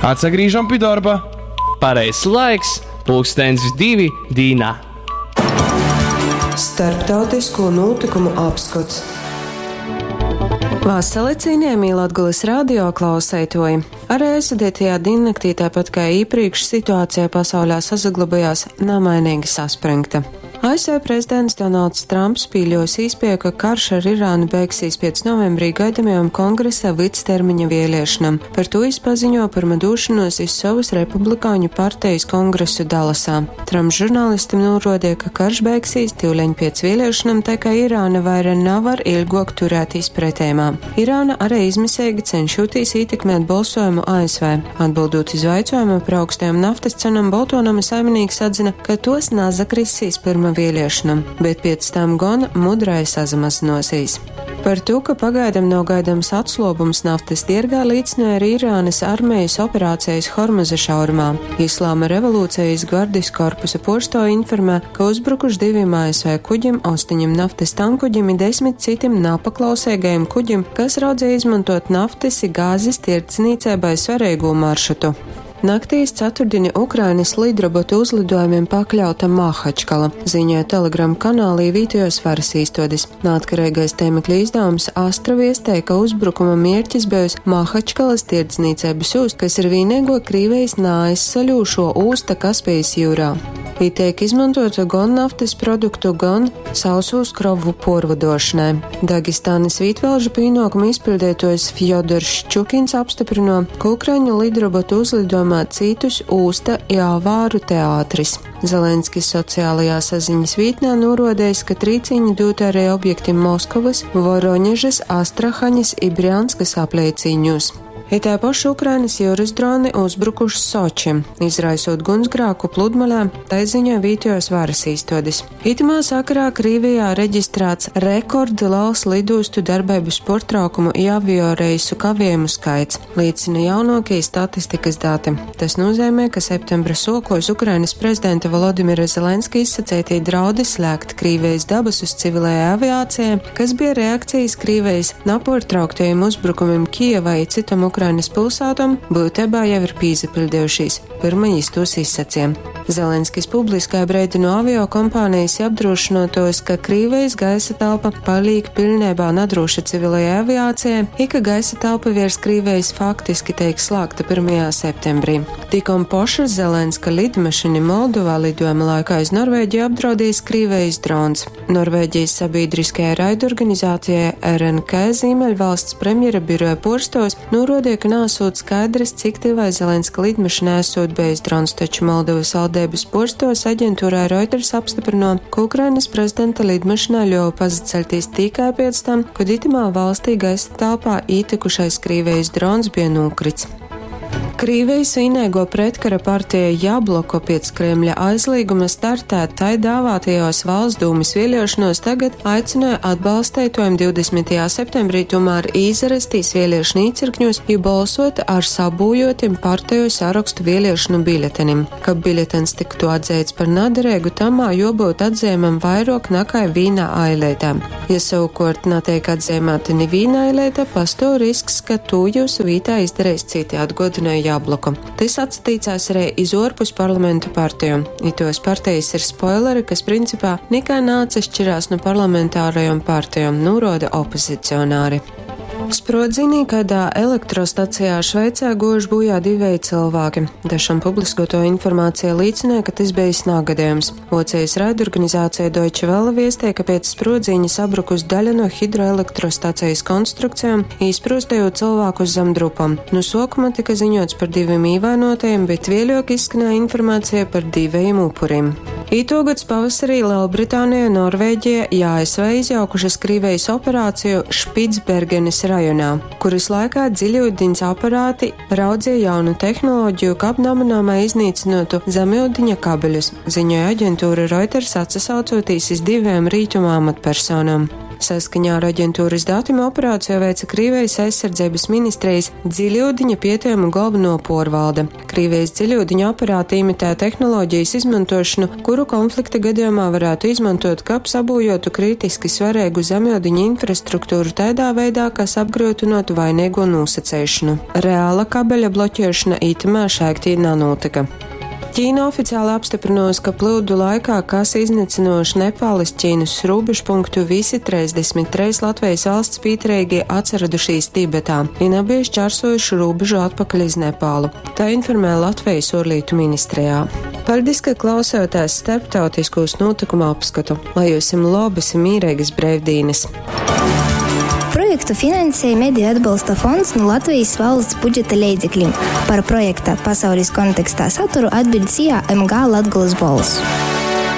Atsagrīžam pi dorba. Pareizs laiks - pulkstens divi dīnā. Starptautisko nūtykumu apskots. Vasali, cienījamī Latgulas radio klauseitoji! Arī aizvadītajā diennaktī, tāpat kā iepriekš, situācija pasaulē sasaglabājās namainīgi saspringta. ASV prezidents Donalds Trumps pīļos īspēju, ka karš ar Irānu beigsies pēc novembrī gaidamajām kongresa vidstermiņa vēlēšanām. Par to viņš paziņo pirma došanos iz savas republikāņu partijas kongresu Dallasā. Trumps žurnālistam norādīja, ka karš beigsies tīuleņ pēc vēlēšanām, tā kā Irāna vaira nevar ilgāk turēties pretējumā. Irāna arī izmisīgi cenšoties ietekmēt balsojumu ASV. Atbildot iz jautājumu par augstajām naftas cenām, Boltonama saimnieks atzina, ka tos nazakrisīs pirma vēlēšanām, bet pēc tam gan mudrai sazamazinosīs. Par to, ka pagaidām nav gaidāms atslobums naftas tirgā, liecināja arī Irānas armijas operācijas Hormuza šaurumā. Islāma revolūcijas gvardijas korpusa porsto informē, ka uzbrukuši diviem ASV kuģim, 8 naftas tankuģim un 10 citiem napaklausīgajiem kuģim, kas raudzēja izmantot naftas i gāzes tirdzniecībai svarīgo maršrutu. Naktīs ceturtdieni Ukrainas lidrobotu uzlidojumiem pakļauta Mahačkala, ziņoja Telegram kanālī vietējos varas īstodes. Neatkarīgais tēmekļa izdevums Astra viestēja, ka uzbrukuma mērķis bijusi Mahačkalas tirdzniecības ūsta, kas ir vienīgo Krīvijas nāaizsaļūšo ūsta Kaspijas jūrā. Viņi tiek izmantota gan naftas produktu, gan sausūs krovu porvadošanai. Dagestānas vītvalžu pienākumu izpildītājs Fjodors Ščukins apstiprino, ka Ukraiņu lidrobotu uzlidojumā citus ūsta i avāru teātris. Zelenskis sociālajā saziņas vītnē norādījis, ka trīciņi dot arī objektim Moskavas, Voroņežas, Astrahaņas i Brjanskas apliecīņos. Itā paša Ukrainas jūras droni uzbrukuši Sočim, izraisot gunsgrāku pludmalē, tai ziņo vietējos varas īstodes. Itamā sakarā Krīvijā reģistrēts rekordliels lidostu darbības portraukumu i avioreisu kavējumu skaits, liecina jaunākie statistikas dati. Tas nozīmē, ka septembra sokos Ukrainas prezidenta Volodimira Zelenska izsacētie draudi slēgt Krīvijas dabasus civilajai aviācijai, kas bija reakcijas Krīvijas naportrauktajiem uzbrukumiem Kijevai i citom Ukrainas pilsētom, būtībā jau ir pīzapildījušīs, pirma jis tos izsacīja. Zelenskis publiskai breidino avio kompānijas apdrošinotos, ka Krīvijas gaisa telpa paliek pilnībā nadroša civilajai aviācijai, i ka gaisa telpa virs Krīvijas faktiski tiek slēgta 1. septembrī. Tikom poša Zelenska lidmašīna Moldovā lidojuma laikā iz Norvēģiju apdraudījis Krīvijas drons. Norvēģijas sabiedriskajai raidorganizācijai RNK Zīmeļvalsts premjera biroja porstos norādīja, ka nesot skaidrs, cik tivai Zelenska lidmašīnai esot bijis drons, taču Moldovas valdības porstos aģentūrai Reuters apstiprino, ka Ukrainas prezidenta lidmašīnā ļuva pazaceļtīs tikai pēc tam, kad itamā valstī gaisa telpā ītikušais Krīvijas drons bija nokrits. Krīvijas vienīgo pretkara partija Jabloko pēc Kremļa aizlieguma startēt tai dāvātajos valsts dūmas vēlēšanos tagad aicināja atbalstētojiem 20. septembrī tomēr īzarastīs vēlēšanu īcirkņos, jo balsot ar sabūjotim partiju sarakstu vēlēšanu biļetenim. Kab biļetens tiktu atzīts par naderīgu, tamā jobūt atzīmam vairāk nekā vīnā ailētā. Ja savukārt netiek atzīmēta ni vīna ailēta, pastāv risks, ka to jūsu vītā izdarīs citi, atgodināja Jabloku. Tas atsatīcās arī iz orpus parlamentu partiju. Itos partijas ir spoileri, kas principā nekā nācašķirās no parlamentārajām partijām, norāda opozicionāri. Sprodzienī kādā elektrostacijā Šveicē gojuši bojā divēji cilvēki. Dažam publiskoto informācija liecināja, ka tas bijis nāgadījums. Vocijas raidorganizācija Deutsche Welle viestē, ka pēc sprodziņa sabrukus daļa no hidroelektrostacijas konstrukcijām, izprostējot cilvēkus zem drupam. Nu sākuma tika ziņots par diviem īvainotajiem, bet vēļok izskanēja informācija par diviem upuriem. Ītogads pavasarī Lielbritānija, Norvēģija i ASV izjaukušas Krīvijas operāciju Špicbergenes rajonā, kuras laikā dziļūdeņas aparāti raudzīja jaunu tehnoloģiju, kab namanāmai iznīcinotu zemūdeņa kabeļus, ziņoja aģentūra Reuters atsasaucoties iz diviem rītuma amatpersonām. Saskaņā ar aģentūras datim operāciju veica Krīvijas aizsardzības ministrijas dziļūdiņa pietījumu galveno porvalde. Krīvijas dziļūdiņa operāti imitē tehnoloģijas izmantošanu, kuru konflikta gadījumā varētu izmantot, kab sabūjotu kritiski svarīgu zemūdiņa infrastruktūru tādā veidā, kas apgrūtinātu vainīgo nosacēšanu. Reāla kabeļa bloķēšana itamā šaiktī nanotika. Ķīna oficiāli apstiprinājusi, ka plūdu laikā, kas iznīcinoši Nepāles Ķīnas robežpunktu, visi 33 Latvijas valsts pieturīgie atsaradušies Tibetā, un abi šķērsojuši robežu atpakaļ iz Nepālu. Tā informē Latvijas ārlietu ministrijā. Paldies, ka klausāties starptautiskos notikumu apskatu. Lai jums labas un mierīgas brīvdienas! Projektu finansēja Mediju atbalsta fonds no Latvijas valsts budžeta leidzekļiem. Par projekta pasaules kontekstā saturu atbild SIA MG Latgulas balss.